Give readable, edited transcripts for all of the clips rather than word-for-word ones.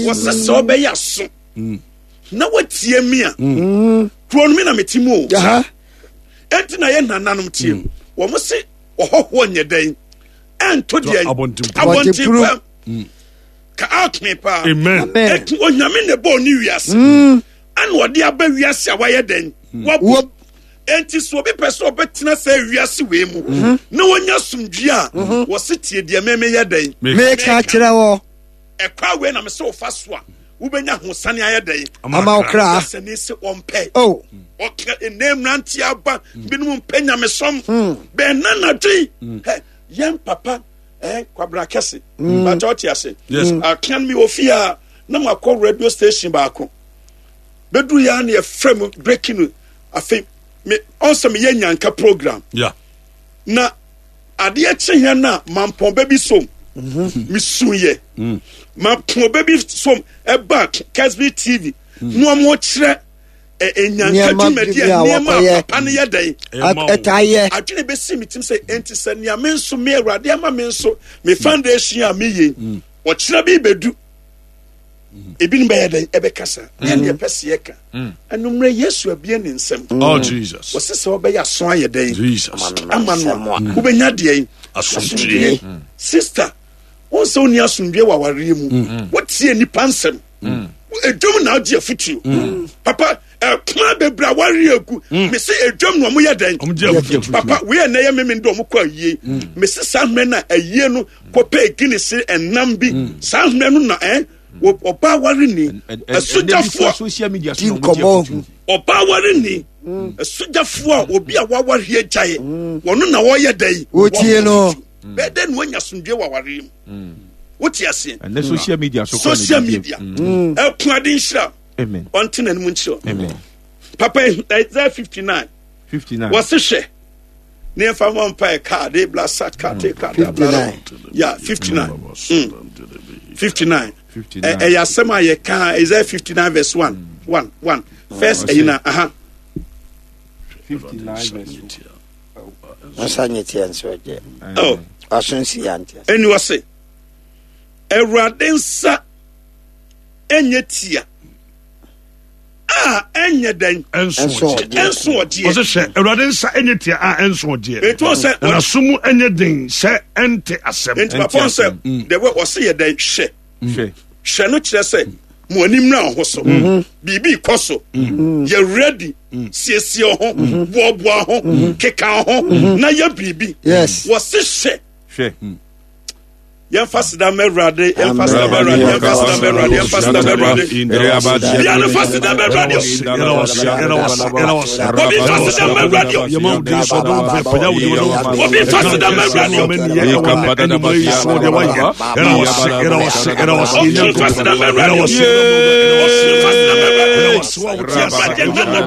Wɔsɛ sɛ ɔbɛyɛ aso na watie mi a, kuro no mi na mete mu o. Enti na yɛ nananom tie. Wɔn se ɔhɔhoɔ nyɛ dɛn ɛnto deɛ abɔnten pam. Ka out me paa. Amen. Eti Onyame na ɛbɔɔ ne wiase. Ɛna ɔde aba wiase a wayɛ dɛn? Wabɔ. Enti sɛ obi pɛ sɛ ɔbɛtena sɛ wiase wei mu na wɔnya asomdwie a, wɔse tie deɛ me meyɛ dɛn? Meka kyerɛ wɔ. Ɛkwa wei na mesɛ wofa so a wobɛnya hosane ayɛ dɛn? Ama wo kra. Sɛne sɛ ɔmpɛ. Oh. Ɔka ɛnɛ mmeranteɛ aba binom mpɛ nyamesom. Bɛn na nadwen. Hɛ, yɛn papa Kwabena kɛse. Bàtà ɔte ase. Yes. Akan mi wɔ fie a na ma kɔ radio station baako. Bɛduru yɛ a na yɛfrɛ mu breaking news. Afei me ɔnsɛ meyɛ nyanka program. Yeah. Na adeɛ kye yɛn na mampɔn bɛ bi som. Mesu yɛ. Mampɔn bɛ bi som ɛba Kesbi TV. Na wɔn kyerɛ nyanka dwumadi a nneɛma a papa no yɛ dɛn. Ɛtaa yɛ. Adwene bɛsi me tim sɛ enti sɛ nea me nso me Awurade ama me nso me foundation a meyɛ ɔkyerɛ bi bɛdu. Ebinom bɛyɛ dɛn ɛbɛkasa yɛn deɛ pɛ seɛ ka anummerɛ Yesu abie ne nsɛm. Oh Jesus. Wɔsi sɛ ɔbɛyɛ aso ayɛ dɛn Jesus. Ama no a wobɛnya deɛ asomdwie. Sister, wɔn sɛ wonni asomdwie wɔ awareɛ mu. Wotie nipa nsɛm. Edwom na agye afutuo. Papa, ɛkwan bebree awareɛ egu. Mesi edwom na wɔn yɛ dɛn. Papa, wei ɛnɛ yɛ mímí de wɔn kɔ ayie. Mesi saa mmerɛ na ayie no kɔpɛ Guinness ɛnam bi. Saa mmerɛ no na ɔbaa ware ni asogyafoɔ Di nkɔmmɔ. Ɔbaa ware ni asogyafoɔ a obi a waware agyae wɔno na wɔyɛ dɛn. Wotie no. Bɛyɛ dɛn na wanya asomdwoe wɔ awareɛ mu? Wote aseɛ? Ɛnɛ social media so kora social na ɛdidi. media ɛko ade nhyira. Amen. Ɔnte n'anim nkyerɛ. Amen. Papa, Isaiah 59 59. Wɔse hwɛ ne yɛmfa mmɔ mpae kaa de bla sat kaa te kaa de bla ya 59 59 59. Ɛyɛ asɛm a yɛka Isaiah 59 verse 1 1 1 first ɛyi na aha. 59 verse 1. Nsa nye teɛ nso gye. Oh. Ɔso nsi ya nteɛ. Ɛni ɔse Awurade nsa ɛnyɛ tia a ɛnyɛ dɛn ɛnso ɔgyeɛ. Ɛnso ɔgyeɛ. Ɔsɛ hwɛ Awurade nsa ɛnyɛ tia a ɛnso ɔgyeɛ. Etu ɔsɛ Na n'aso mu ɛnyɛ den sɛ ɛnte asɛm. Nti papa ɔsɛ the way ɔse yɛ dɛn hwɛ. Hwɛ. Hwɛ no kyerɛ sɛ mo ani mmra ho so. Biribi kɔ so. Yɛ ready. Siesie ho. Boaboa ho. Keka ho. Na yɛ biribi. Yes. Wɔse hwɛ. Hwɛ. Yɛmfa seda ma Awurade, yɛmfa seda ma Awurade, yɛmfa seda ma Awurade, yɛmfa seda ma Awurade. Bia no fa seda ma Awurade. Obi fa seda ma Awurade. Obi fa seda ma Awurade. Obi fa seda ma Awurade. Obi fa seda ma Awurade. Awurade nana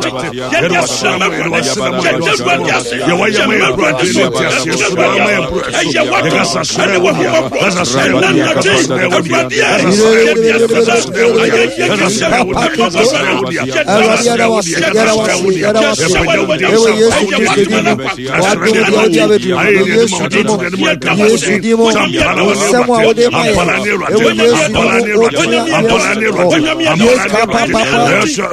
yɛde aseda ma Awurade. Yɛde Awurade ase. Yɛma Awurade so. Yɛde Awurade ase. Ɛyɛ wato ɛne wahomɔborɔ. Ɛna nate Awurade a yɛde aseda ayɛ yɛ kɛsɛ ɛma waware. Yɛde Awurade yɛda wo ase, yɛda wo ase, yɛda wo ase. Ɛwɔ Yesu Kristo din mu. W'adom deɛ wode abɛduru mu. Wɔ Yesu din mu. Yesu din mu. Nsɛm a wode ma yɛn. Ɛwɔ Yesu din mu. Wotua yɛn so. Yesu papa papa. In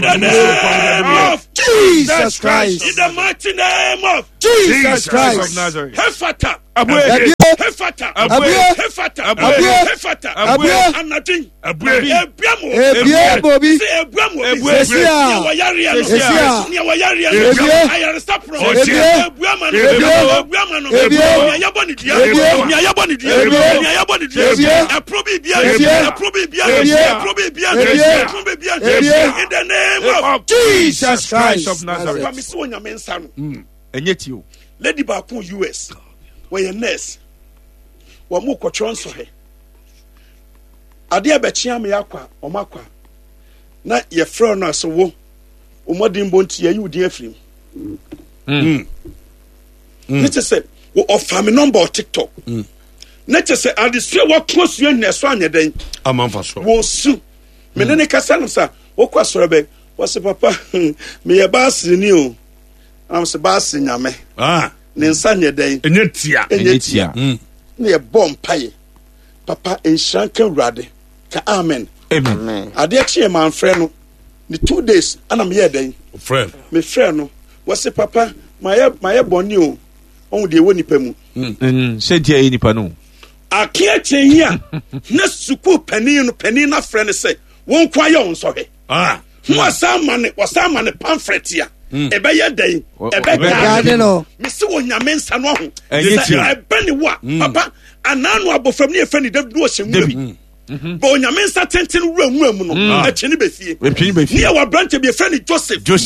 the name of Jesus Christ. In the mighty name of Jesus Christ. Nazareth. Hefata. Abue. Hefata. Abue. Hefata. Abue. Hefata. Abue. Anadwen. Abue. Ebua mo. Ebue bobi. Sɛ ebua mo obi. Sɛsi a. Nea wɔyareɛ no. Sɛsi a. Nea wɔyareɛ no. Ebue. Ayaresa porɔ. Ebue. Ebua ma no. Ebue. Ebua ma no. Ebue. Nea yɛbɔ ne dua. Ebue. Nea yɛbɔ ne dua. Ebue. Nea yɛbɔ ne dua. Ebue. Ɛpono bi bia. Ebue. Ɛpono bi bia. Ebue. Ɛpono bi bia. Ebue. Ɛpono bi bia. Ebue. In the name of Jesus Christ. of Nazareth. Papa mi si Onyame nsa no. Ɛnyɛ ti o. Lady baako US wɔyɛ nurse, wɔn mo kɔtwerɛ nsɔhwɛ, adeɛ bɛkyea me akɔ a wɔn akɔ a na yɛfrɛ no ase wo wɔn bɔ nti yɛyi wo din afiri mu. Ne kyɛ sɛ ɔfa me nɔmba wɔ TikTok. Ne kyɛ sɛ adesua wɔko asua nyina ɛso anyɛ dɛn Amanfa so. Wɔsu me ne ne kasa no sa wokɔ asɔre bɛn, wɔse papa meyɛ baaseni o. Anam sɛ baase nyame Ah. ne nsa nyɛ dɛn? Ɛnyɛ tia. Ɛnyɛ tia. Mm. Na yɛbɔ mpaeɛ, papa nhyira nka Awurade. Ka amen. Amen. Adeɛ kyeɛ manfrɛ no ne 2 days ana meyɛɛ dɛn? Mefrɛ no, wɔse, "Papa, mayɛ bɔne o." Ɔhu deɛ ɛwɔ nipa mu. Sɛ nti ɛyɛ nipa no. Akeɛ kyɛn yi a na sukuu panin no afrɛ no sɛ wɔn nko ayɛ wɔn nsɔhwɛ ho wɔsan ma ne pamphlet a ɛbɛyɛ dɛn? Ɛbɛgaade no. Mesi wɔ Nyame nsa no aho Ɛnyɛ sɛ tia. ɛbɛ ne wo a, papa, anaa no abɔfra mu ne yɛfrɛ ne David ne ɔhyɛ nwura mu bɛ Onyame nsa tenten wura nwura mu no, ɛtwe ne bɛfie. Ɛtwe ne bɛfie. Ne yɛwɔ aberantɛ bi yɛfrɛ ne Joseph. Joseph.